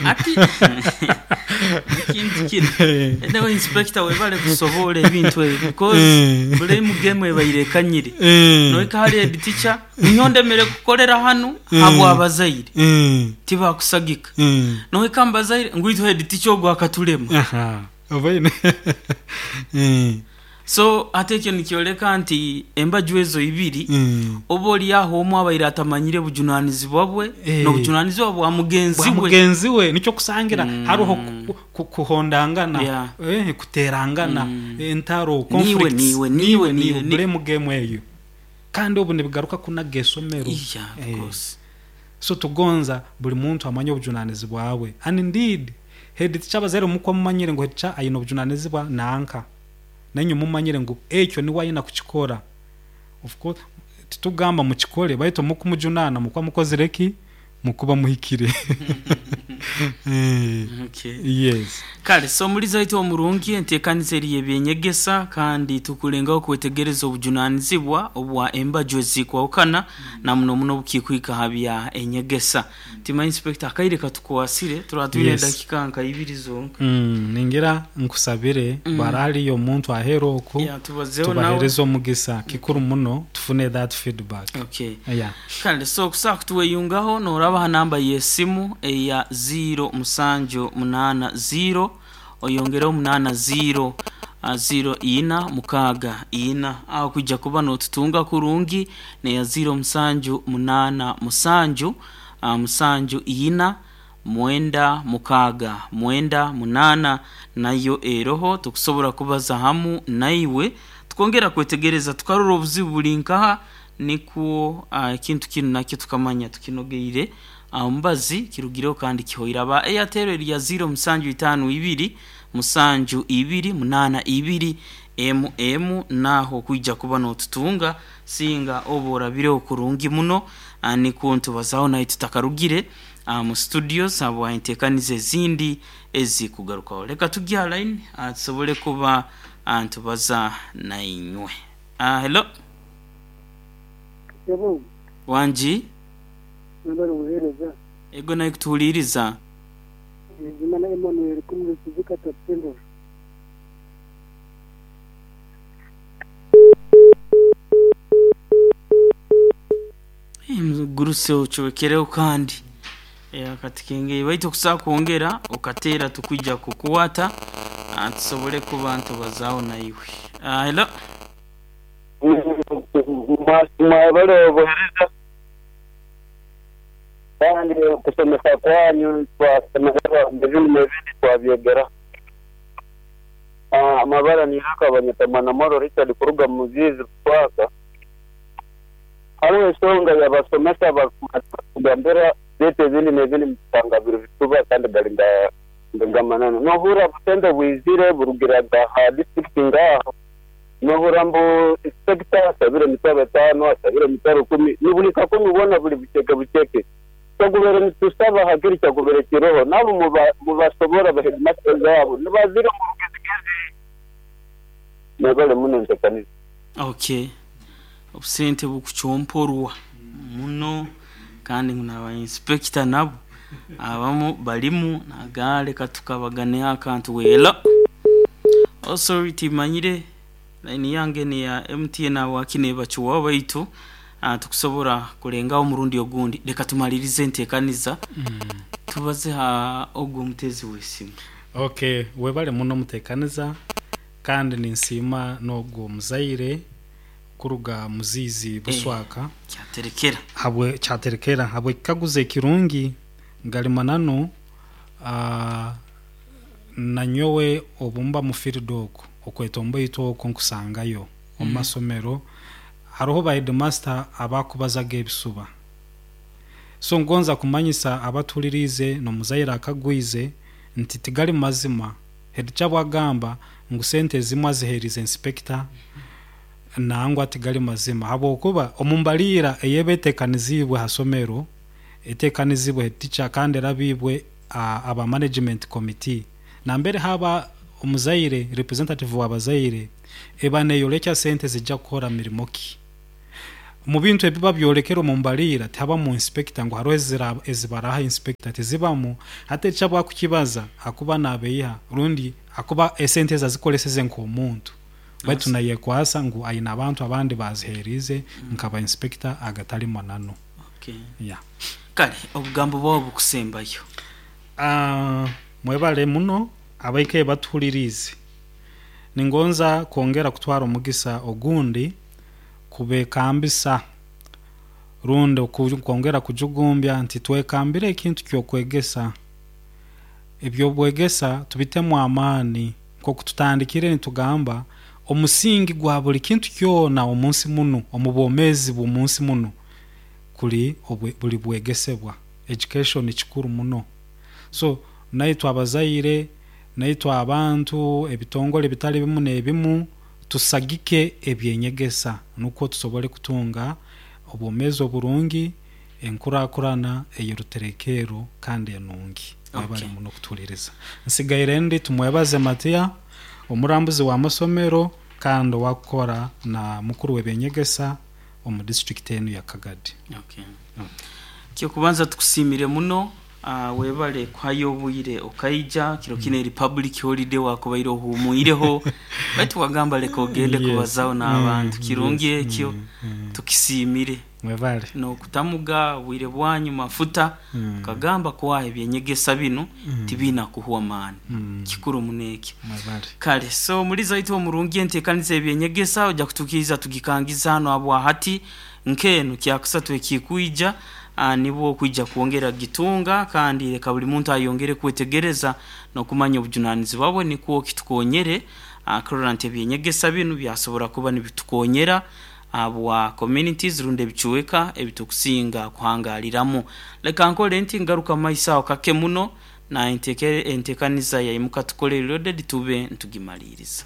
Ati ekintu kinu anyway inspector webale kusoboora ebintu ebyo because blame game ebaire ekanyire. Nohika ahali head teacher, nyowe ndemere kukolera hanu habw'abazaire tibakusagika. Nohika mu bazaire ngu itwe head teacher ogu akatulema. Obaine. So hati ekyo nikyoleka nti embaju ezo ibiri oba ori aho omwe abaire atamanyire bujunanizibwa bwe n'obujunanizibwa bwa mugenzi Bwa we. mugenzi we. Nikyo okusangira haroho kuhondangana, kuterangana, entaro, Niiwe, conflicts, niiwe, niiwe, niiwe, niiwe, niiwe, ni- blame game eyo. Kandi obu nibigaruka kunaga esomero. Yeah, of course. So tugonza buli muntu amanye obujunanizibwa bwe. And indeed, head teacher abazaire mukuba mumanyire ngu head teacher aine obujunanizibwa nanka. Nainywe mumanyire ngu ekyo niwe aine kukikora. Of course, titugamba mukikore, baitu mukumujunaana mukuba mukozire ki? Mukuba muhikire. Okay. Yes. Kale, so omulizi waitu omurungi, enteekaniza eri y'eby'enyegesa kandi tukulengaho kwetegereza obujunanizibwa obwa embaju ezikwahukana na muno muno obukikwika ha bya enyegesa. Timanya Inspector akaire katukwasire, turaba twine edakika nka ibiri zonka. Ningira nkusabire bwara haliyo omuntu aheru oku Yeah, tubazeho nawe. tubahereze omugisa kikuru muno tufune that feedback. Okay. Yeah. Kale, so okusobola kutuweyungaho noraba ha namba y'esimu eya ziiro musanju munaana ziiro oyongereho munaana ziiro ziiro ina mukaaga ina. Aho kwija kuba notutunga kurungi neya ziiro musanju munaana musanju musanju ina mwenda mukaaga mwenda munaana nayo eroho tukusobora kubaza hamu naiwe tukongera kwetegereza tukarora obuzibu buri nkaha nikwo ekintu kinu nakyo tukamanya tukinogeire omubazi kirugireho kandi kihoire. Aba Airtel eri ya ziiro musanju itaano ibiri musanju ibiri munaana ibiri emu emu naho kwija kuba notutunga singa oba orabireho kurungi muno nikwo nitubazaho naye tutakarugire mu studios habwa enteekaniza ezindi ezikugarukaho. Leka tugye ha line tusobole kuba nitubaza nainywe. Hello. Sebo. Wangi. Webale obuhereza. Ego naye kutuhuliriza. Bizimana Emmanuel kumuri Kizika Top Central. Guruse ocwekereho kandi akati kengeye baitu okusobola kwongera okateera tukwija kukwata tusobole kuba nitubazaho naiwe. Hello. Mwebale obuhereza kandi okusomesa kwanyu twasemererwa ebindi n'ebindi twabyegeraho. Amabara niraka banyeta Mwanamwaro Richard kuruga Muzizi Buswaka. Haroho ensonga y'abasomesa bakugambira baitu ebindi n'ebindi mukusanga biri bisuba kandi gali gamananu. Nohurra obusente bwizire burugiraga ha disiturikiti ngaho, nohurra mbu inspector asabire emitwaro etaano, asabire emitwaro ikumi, nibuli kakumi bwona buli buceke buceke. Kyakubere nitusaba hakiri kyakubere kiroho nabo mubasobora ba headmasters abo nibazire omu rugezigezi. Mwebale muno entekaniza. Okay. Obusente bukucomporwa muno kandi ngu naba inspector nabo abamu balimu nagamba leka tukabaganeho akantu wela. Oh sorry timanyire line yange neya MTN habwaki nebacuwaho baitu tukusobora kulengaho omurundi ogundi. Leka tumalirize entekaniza tubaze ha ogu omutezi w'esimu. Okay, webale muno omutekaniza kandi ninsiima n'ogwo omuzaire kuruga Muzizi Buswaka. Kyaterekera. Habwe kyaterekera habw'ekikaguzo ekirungi gali mananu nanyowe obu mba mu field oku okwetomboitwa oku nkusangayo omu masomero haroho ba headmaster abakubazaga ebisuba. So ngonza kumanyisa abatuhuliriize n'omuzaire akagwize nti tigali mazima. Head teacher bwagamba ngu sente ezimu aziheerize inspector nangwa tigali mazima habwokuba omu mbaliira eyeba eteekaniziibwe ha somero eteekaniziibwe head teacher kandi erabiibwe aba management committee nambere haba omuzaire representative w'abazaire eba neeyorekya sente zijja kukora mirimo ki. Omu bintu ebiba byolekere omu mbaliira tihabamu inspector ngu haroho ezibaraha inspector tizibamu. Hati eki abu akukibaza akuba nabeiha rundi akuba esente ezi azikoleseze nk'omuntu, baitu nayekwasa ngu aine abantu abandi baziheriize nkaba inspector, agatali mananu. Okay. Yeah. Kale obugambo bwawe bukusembayo. Mwebale muno abaikaire batuhuliriize. Ningonza kwongera kutwara omugisa ogundi kubekambisa rundi kwongera kujugumbya nti twekambire ekintu ky'okwegesa. Eby'obwegesa tubitemu amaani nk'oku tutandikire nitugamba omusingi gwa buli kintu kyona omu nsi munu, omu bwomeezi bw'omu nsi munu kuli buli bwegesebwa. Education kikuru muno. So naitwe abazaire, naitwe abantu, ebitongole ebitali bimu n'ebimu tusagike ebyenyegesa nukwo tusobole kutunga obwomeezi oburungi, enkurakurana ey'oruterekerro kandi enungi. Mwebale muno kutuhuliriza. Nsigaire ndi Tumwebaze Matiya, omurambuzi w'amasomero kandi owakukora na mukuru w'ebyenyegesa omu disiturikiti enu ya Kagadi. Okay. Kyokubanza tukusiimire muno, webale kuhayo obwire okaija kiro kinu eri public holiday, wakubaire ohuumwireho baitu wagamba leka ogende kubazaho n'abantu. Kirungi ekyo, tukisiimire. Mwebale. N'okutamuga obwire bwanyu mafuta okagamba kwaha ebyenyegesa binu tibiina kuhwa maani. Kikuru muno ekyo. Mwebale. Kale so omulizi waitu omurungi enteekaniza y'ebyenyegesa oja kutukiiriza tugikangize hanu habwahati nk'enu kyakusatu ekikwija nibwo okwija kwongera kugitunga, kandi leka buli muntu ayongere kwetegereza n'okumanya obujunanizibwa bwe nikwo kitukonyere kurora nti ebyenyegesa binu byasobora kuba nibitukonyera habwa communities rundi ebicweka ebitukusinga kuhangaliramu. Leka nkole nti ngaruka mumaiso aho kake muno na entekaniza ya Imuka Tukole Reloaded tube nitugimaliriza.